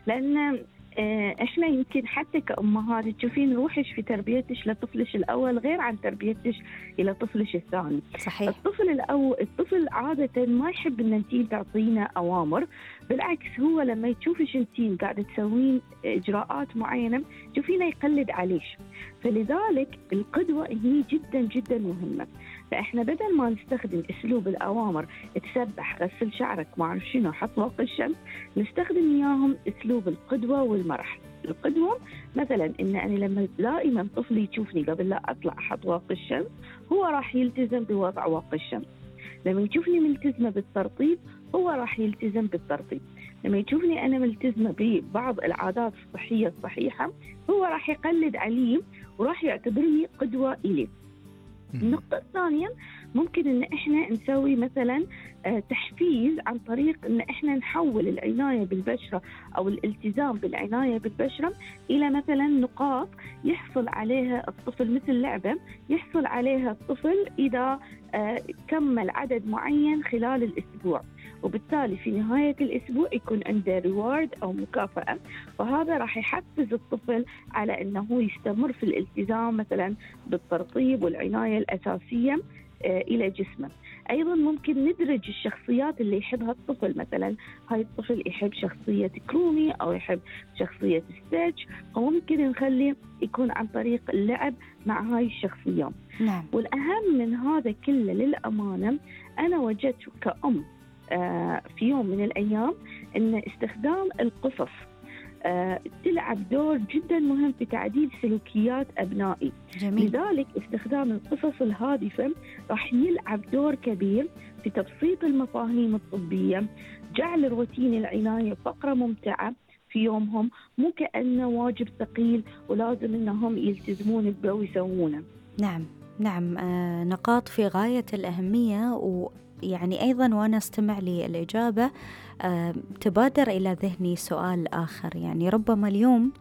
لأن احنا يمكن حتى كأمهات تشوفين روحش في تربيتش لطفلش الأول غير عن تربيتش إلى طفلش الثاني. صحيح. الطفل عادة ما يحب إن انتين تعطينه أوامر، بالعكس هو لما يشوفش انتين قاعدة تسوين إجراءات معينة تشوفينه يقلد عليش. فلذلك القدوة هي جدا جدا مهمة. فإحنا بدل ما نستخدم أسلوب الأوامر تسبح، غسل شعرك، ما أعرف شنو، حط واقي الشمس، نستخدم إياهم أسلوب القدوة والمرح. القدوة مثلا إن أنا لما دائما طفلي يشوفني قبل لا أطلع أحط واقي الشمس هو راح يلتزم بوضع واقي الشمس. لما يشوفني ملتزمة بالترطيب هو راح يلتزم بالترطيب. لما يشوفني أنا ملتزمة ببعض العادات الصحية الصحيحة هو راح يقلد علي وراح يعتبرني قدوة إليه. النقطة الثانية ممكن إن إحنا نسوي مثلا تحفيز عن طريق إن إحنا نحول العناية بالبشرة أو الالتزام بالعناية بالبشرة إلى مثلا نقاط يحصل عليها الطفل، مثل لعبة يحصل عليها الطفل إذا كمل عدد معين خلال الأسبوع، وبالتالي في نهاية الأسبوع يكون عنده ريوارد أو مكافأة، فهذا راح يحفز الطفل على أنه يستمر في الالتزام مثلا بالترطيب والعناية الأساسية إلى جسمه. أيضا ممكن ندرج الشخصيات اللي يحبها الطفل، مثلا هاي الطفل يحب شخصية كرومي أو يحب شخصية ستيتش، وممكن نخليه يكون عن طريق اللعب مع هاي الشخصيات. نعم. والأهم من هذا كله للأمانة أنا وجدت كأم في يوم من الأيام أن استخدام القصص تلعب دور جدا مهم في تعديل سلوكيات أبنائي. جميل. لذلك استخدام القصص الهادفة راح يلعب دور كبير في تبسيط المفاهيم الطبية، جعل روتين العناية فقرة ممتعة في يومهم، مو كأنه واجب ثقيل ولازم أنهم يلتزمون به ويسوونه. نعم نعم، نقاط في غاية الأهمية. ويعني أيضا وأنا استمع للإجابة تبادر إلى ذهني سؤال آخر. يعني ربما اليوم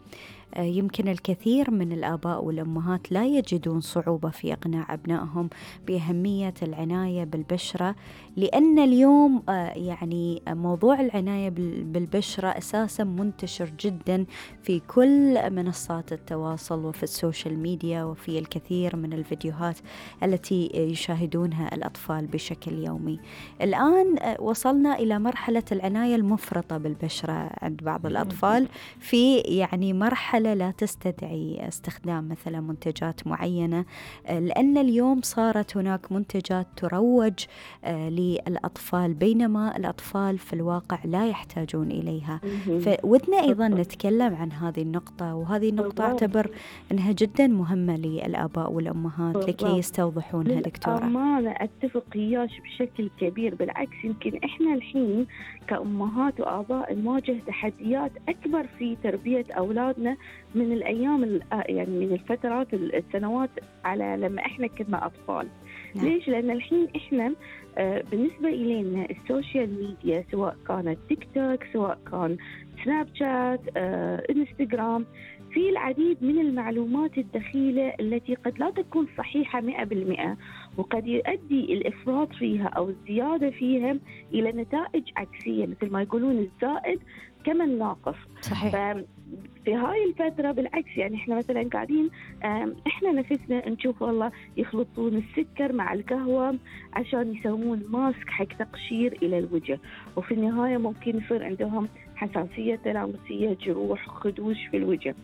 يمكن الكثير من الآباء والأمهات لا يجدون صعوبة في إقناع أبنائهم بأهمية العناية بالبشرة، لأن اليوم يعني موضوع العناية بالبشرة أساسا منتشر جدا في كل منصات التواصل وفي السوشيال ميديا وفي الكثير من الفيديوهات التي يشاهدونها الأطفال بشكل يومي. الآن وصلنا إلى مرحلة العناية المفرطة بالبشرة عند بعض الأطفال، في يعني مرحلة لا تستدعي استخدام مثلا منتجات معينة، لأن اليوم صارت هناك منتجات تروج للأطفال بينما الأطفال في الواقع لا يحتاجون إليها. فودنا أيضا نتكلم عن هذه النقطة، وهذه النقطة أعتبر أنها جدا مهمة للآباء والأمهات لكي يستوضحونها. دكتورة أنا أتفق إياش بشكل كبير، بالعكس يمكن إحنا الحين كأمهات وآباء نواجه تحديات أكبر في تربية أولادنا من الأيام يعني من الفترات السنوات على لما إحنا كنا أطفال. نعم. ليش؟ لأن الحين إحنا بالنسبة إلينا السوشيال ميديا سواء كانت تيك توك سواء كان سناب شات إنستغرام، في العديد من المعلومات الدخيلة التي قد لا تكون صحيحة 100%، وقد يؤدي الإفراط فيها أو الزيادة فيها إلى نتائج عكسية، مثل ما يقولون الزائد كمن ناقص. صحيح. في هاي الفترة بالعكس يعني إحنا مثلا قاعدين إحنا نفسنا نشوف والله يخلطون السكر مع القهوة عشان يسوون ماسك حق تقشير إلى الوجه، وفي النهاية ممكن يصير عندهم حساسية تلامسية، جروح، خدوش في الوجه.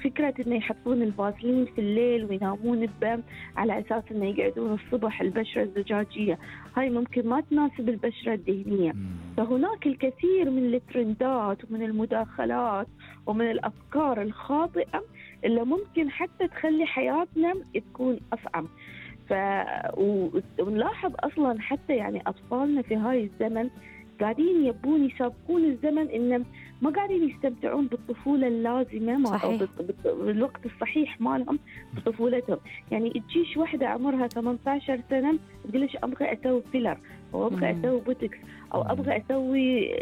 فكرة إنه يحطون الفازلين في الليل وينامون به على أساس إنه يقعدون الصبح البشرة الزجاجية، هاي ممكن ما تناسب البشرة الدهنية. فهناك الكثير من الترندات ومن المداخلات ومن الأفكار الخاطئة اللي ممكن حتى تخلي حياتنا تكون أصعب. ونلاحظ أصلا حتى يعني أطفالنا في هاي الزمن قاعدين يبون يسابقون الزمن، إن ما قاعدين يستمتعون بالطفولة اللازمة أو بالوقت الصحيح مالهم بطفولتهم. يعني تجيش واحدة عمرها 18 سنة تقولش أبغى أسوي فيلر أو أبغى أسوي بوتكس أو أبغى أسوي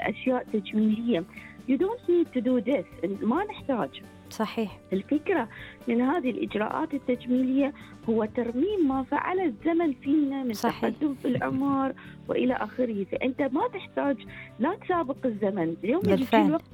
أشياء تجميلية. You don't need to do this. ما نحتاج. صحيح. الفكرة من هذه الإجراءات التجميلية هو ترميم ما فعل الزمن فينا من تقدم في العمر وإلى آخره. فأنت ما تحتاج لا تسابق الزمن. اليوم يجي الوقت